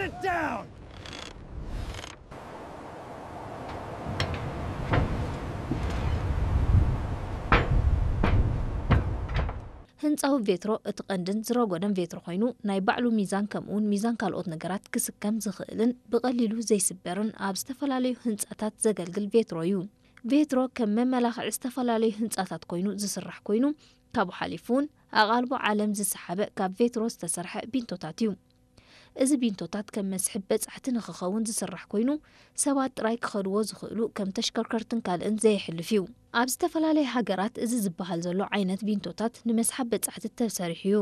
It down! ህንፃዊ ቬትሮ እቲ ቀንድን ዝረጎደን ቬትሮ ኮይኑ፣ ናይ ባዕሉ ሚዛን ከምኡውን ሚዛን ካልኦት ነገራት ክስከም ዝኽእልን ብቐሊሉ ዘይስበርን ኣብ ዝተፈላለዩ ህንፃታት ዘገልግል ቬትሮ እዩ። ቬትሮ ከም መመላኽዒ ዝተፈላለዩ ህንፃታት ኮይኑ ዝስራሕ ኮይኑ፣ ካብኡ ሓሊፉ እውን ኣቓልቦ ዓለም ዝሰሓበ ካብ ቬትሮ ዝተሰርሐ ቢንቶታት እዩ። እዚ ቢንቶታት ከም መስሕብ በጻሕቲ ንኽኸውን ዝስራሕ ኮይኑ፣ ሰባት ጥራይ ክኸድዎ ዝኽእሉ ከም ተሽከርከርትን ካልእን ዘየሕልፍ እዩ። ኣብ ዝተፈላለየ ሃገራት እዚ ዝበሃል ዘሎ ዓይነት ቢንቶታት ንመስሓብ በጻሕቲ ተሰሪሑ እዩ።